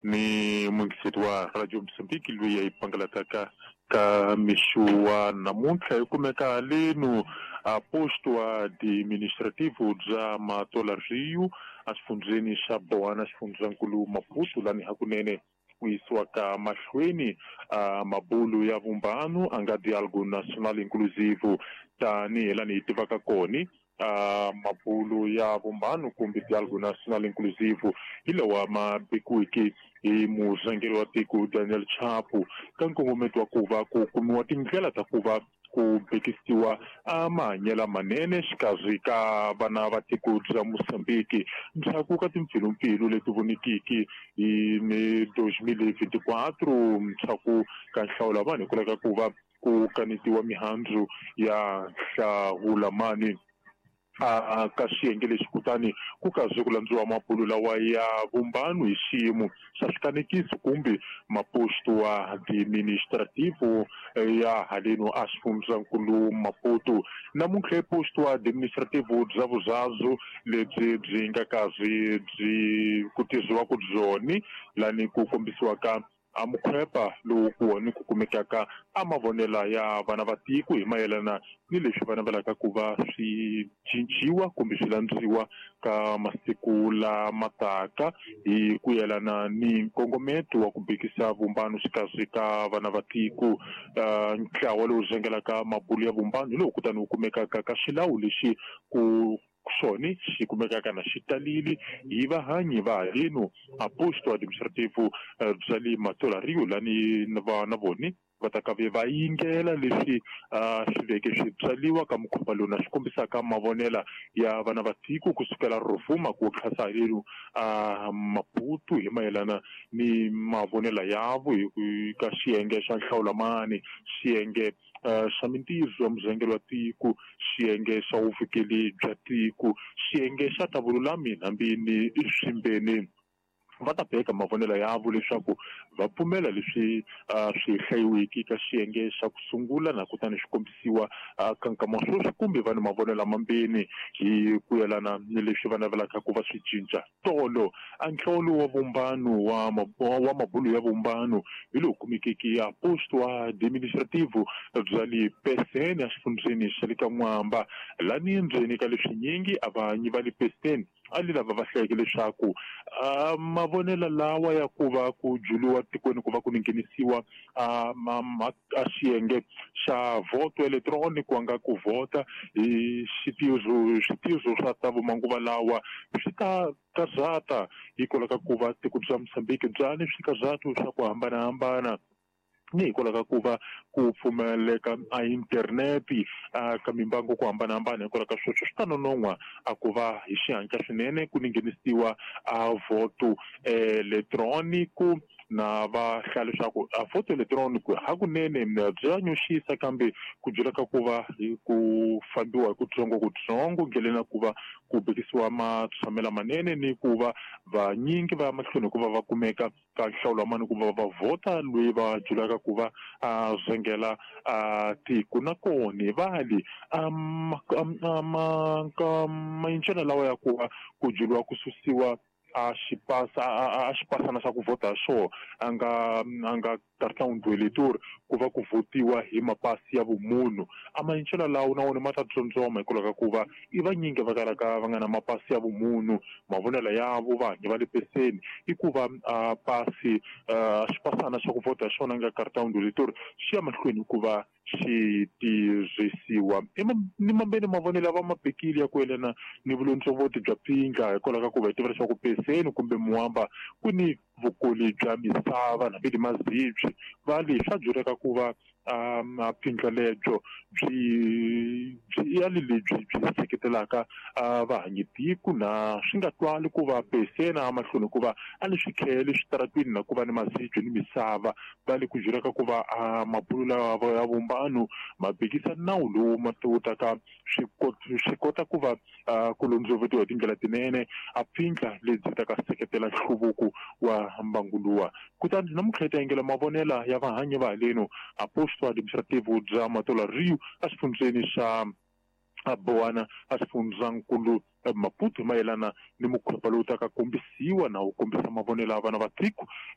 Ni muyingiseri wa Radio Mozambique loyi a yi pangalataka ka mixo wa namuntlha hi kumeka halenu a posto administrativo bya Matola Rio exifundzheni xa Boana, xifundzankulu Maputo, lani hakunene ku yisiwaka mahlweni a mabulu ya vumbano a nga Dialogo Nacional Inclusivo tanihi lani hi tivaka koni. A mabulu ya vumbano kumbe Dialogo Nacional Inclusivo hi lawa ma bikiweke hi murhangeri wa tiko Daniel Chapo ka nkongometo wa ku va ku kumiwa tindlela ta ku va ku bekisiwa a mahanyelo manene xikarhi ka vana va tiko bya Mozambique ndzhaku ka timpfilumpfilu leti vonikiki hi 2024 ndzhaku ka nhlawulo vanhu hikwalaho ka ku va ku kanetiwa mihandzu ya hlawulamani a ka xiyenge lexi, kutani ku kaze ku landziwa mabulu lawa ya vumbano hi xiyimo xa swikanekiso kumbe maposto administrativo ya haleno a xifundzankulu Maputo. Namuntlha posto administrativo bya vuzazu lebyi byi nga kazi byi ku tirhisiwaka byoni lani ku kombisiwaka a mukhwepa lowu ku wona ku kumekaka a mavonela ya vana va tiko hi mayelana ni leswi va navelaka ku va swi cinciwa kumbe swi landziwa ka masiku lama taka hi ku yelana ni nkongometo wa ku bekisa vumbano xikarhi ka vana va tiko. Ntlawa lowu zengelaka mabulu ya vumbano hi lowu kutani wu kumekaka ka xilawu lexi ku xona xi kumekaka na xi talile hi vahanyi va halenu a posto administrativo bya le Matola Rio lani va na voni va ta ka ve va yingela leswi swi veke swi byaliwa ka mukhuva lowu na swi kombisaka mavonela ya vana va tiko kusukela Rovuma ku tlhasa halenu a Maputo hi mayelana ni mavonela yavo hi ka xiyenge xa nhlawulamani, xiyenge xa mintirho ya muzengelo wa tiko, xiyenge xa vuvikeli bya tiko, xiyenge xa ta vululami hambi ni swimbeni. Va ta beka mavonelo yavo leswaku va pfumela leswi swi hlayiwiki ka xiyenge xa ku sungula na kutani swi kombisiwa ka nkama wa sweswi, kumbe va ni mavonelo mambeni hi ku yelana ni leswi va navelaka ku va swi cinca. Tolo a nhlawulo wa vumbano wa mabulu ya vumbano hi lowu kumekeke ya posto administrativo bya le Pesene exifundzheni xa le ka N'wamba, lani ndzeni ka leswinyingi a vanyi va le Pesene a li lava va hlayeke leswaku mavonelo lawa ya ku va ku juliwa tikweni ku va ku nghenisiwa a xiyenge xa voto electronic ku nga ku vhota hi switizo swa ta vumanguva lawa swi ta kazata hikwalaho ka ku va tiko bya Mozambique bya ni swikazato swa ku hambanahambana ni hikwalaho ka ku va ku pfumeleka a interneti ka mimbangu ku hambanahambana. Hikwalaho ka sweswo swi ta nonon'hwa a ku va hi xihatla swinene ku nghenisiwa a voto electronic na va hlaya leswaku a voto electronic hakunene bya nyoxisa, kambe ku byela ka ku va ku fambiwa hi kutsongokutsongo ndleleni ya ku va ku bekisiwa matshamelo manene ni ku va vanyingi va ya mahlweni hikuva va kumeka ka nhlawulo wa mani ku va va vhota loyi va julaka ku va a zengela a tiko. Nakona vali mayincelo lawa ya ku va ku juliwa ku susiwa a xipasa a xipasana xa ku vhota xo a nga cartão do eleitor ku va ku votiwa hi mapasi ya vumunhu, a mayincelo lawo na wona ma ta tsondzoma hikwalaho ka ku va i vanyingi va kalaka va nga na mapasi ya vumunhu. Mavonelo yavo vahanyi va le peseni i ku va a pasi xipasana xa ku vhota xona nga cartão do eleitor xi ya mahlweni ku va xi tirhisiwa. Ni mambeni mavonelo va mabekile ya ku yelana ni vulondzovoti bya pindla hikwalaho ka ku va hi tiva leswaku peseni kumbe muamba ku ni vukoli bya misava hambi ni mazibyi va le swa byeleka ku va pindla lebyo byi ya le lebyi byi seketelaka vahanyi tiko na swi nga twali ku va peseni a mahlweni ku va a ni swikhele switaratwini na ku va ni mazibyi ni misava. Va le ku byelaka ku va mabulu lawa ya vumbano ma bekisa nawu lowu ma taka swi kota ku va ku londzovetiwa hi tindlela tinene a pfindla lebyi ta ka seketela nhluvuko wa mbangu luwa. Kutani namuntlha hi ta yingela mavonela ya vahanyi va haleno a posto administrativo bya Matola Rio exifundzheni xa Boana exifundzhankulu Maputo mayelana ni mukhuva lowu taka kombisiwa na wu kombisa mavonelo ya vana va tiko.